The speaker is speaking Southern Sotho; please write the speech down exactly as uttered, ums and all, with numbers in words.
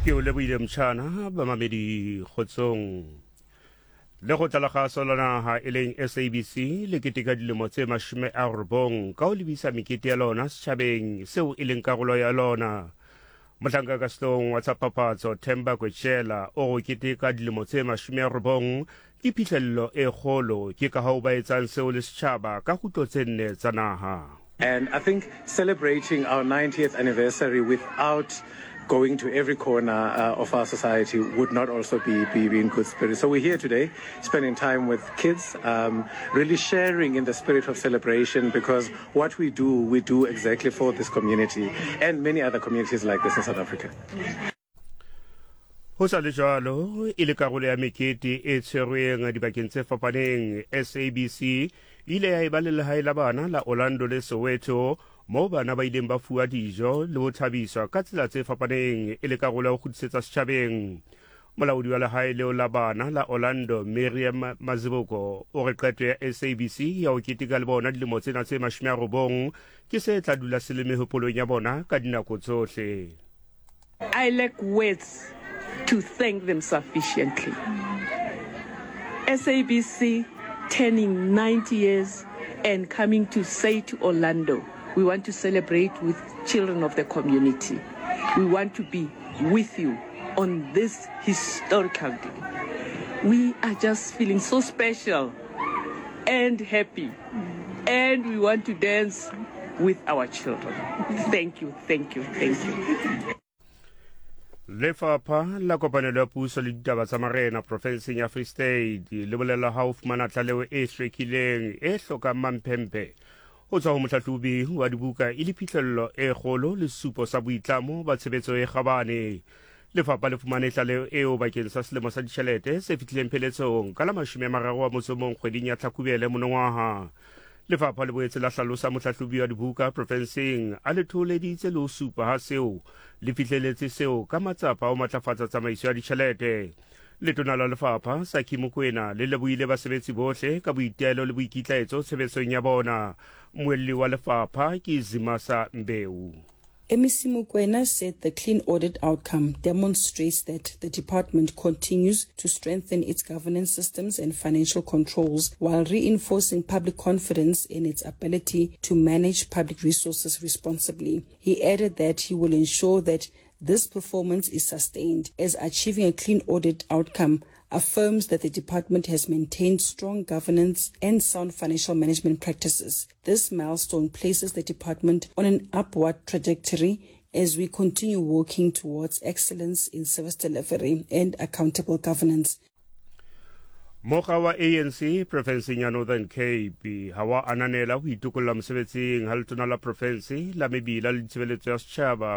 Ke o lebohile mtjhana bamamedi kgotsong. Lekgotla la kgaso la naha e leng S A B C le keteka dilemo tse mashome a robong ka ho lebisa mekete ya lona setjhabeng seo e leng karolo ya lona. Mohlanka ka sehloohong wa tsa papatso Themba Kwetshela o go keteka dilemo tse mashome a robong ke phihlello e kgolo, ke ka hoo ba etsang seo le setjhaba ka kgutlo tse nne tsa naha. And I think celebrating our ninetieth anniversary without going to every corner uh, of our society would not also be, be, be in good spirit. So we're here today, spending time with kids, um, really sharing in the spirit of celebration, because what we do, we do exactly for this community and many other communities like this in South Africa. Ho sa le jwalo, e le karolo ya mekete e tshwerweng dibakeng tse fapaneng, S A B C e ile ya eba le lehae la bana la Orlando le Soweto, moo bana ba ileng ba fuwa dijo le ho thabiswa ka tsela tse fapaneng e le karolo ya ho kgutlisetsa setjhabeng. Molaodi wa lehae leo la bana la Orlando, Miriam Maziboko, o re qeto ya S A B C ya ho keteka le bona dilemo tsena tse mashome a robong ke se tla dula se le mehopolong ya bona ka dinako tsohle. I lack words to thank them sufficiently. S A B C turning ninety years and coming to say to Orlando, "We want to celebrate with children of the community. We want to be with you on this historical day." We are just feeling so special and happy, and we want to dance with our children. Thank you, thank you, thank you. Lefapha la kopanelo ya puso le ditaba tsa marena profenseng ya Free State le bolela ha o fumana tlaleho e hlwekileng e hlokang mamphemphe ho tswa ho mohlahlobi wa dibuka e le phihlello e kgolo le sesupo sa boitlamo ba tshebetso e kgabane. Lefapha le fumane tlaleho eo bakeng sa selemo sa ditjhelete se fihlileng pheletsong ka la mashome a mararo a motso mong kgweding ya Tlhakubele monongwaha. Lefapha le boetse la hlalosa mohlahlobi wa dibuka profenseng a le thoholeditse le ho supa ha seo le fihleletse seo ka matsapa a ho matlafatsa tsamaiso ya ditjhelete. Letona la lefapha Saki Mokwena le lebohile basebetsi bohle ka boitelo le boikitlaetso tshebetsong ya bona. Mmuelli wa lefapha ke Zimasa Mbeu. M E C Mokoena said the clean audit outcome demonstrates that the department continues to strengthen its governance systems and financial controls while reinforcing public confidence in its ability to manage public resources responsibly. He added that he will ensure that this performance is sustained, as achieving a clean audit outcome affirms that the department has maintained strong governance and sound financial management practices. This milestone places the department on an upward trajectory as we continue working towards excellence in service delivery and accountable governance. Mokga wa A N C profenseng ya Northern Cape ha wa ananela ho itokolla mosebetsing ha letona la profense la mebila le ditshebeletso ya setjhaba.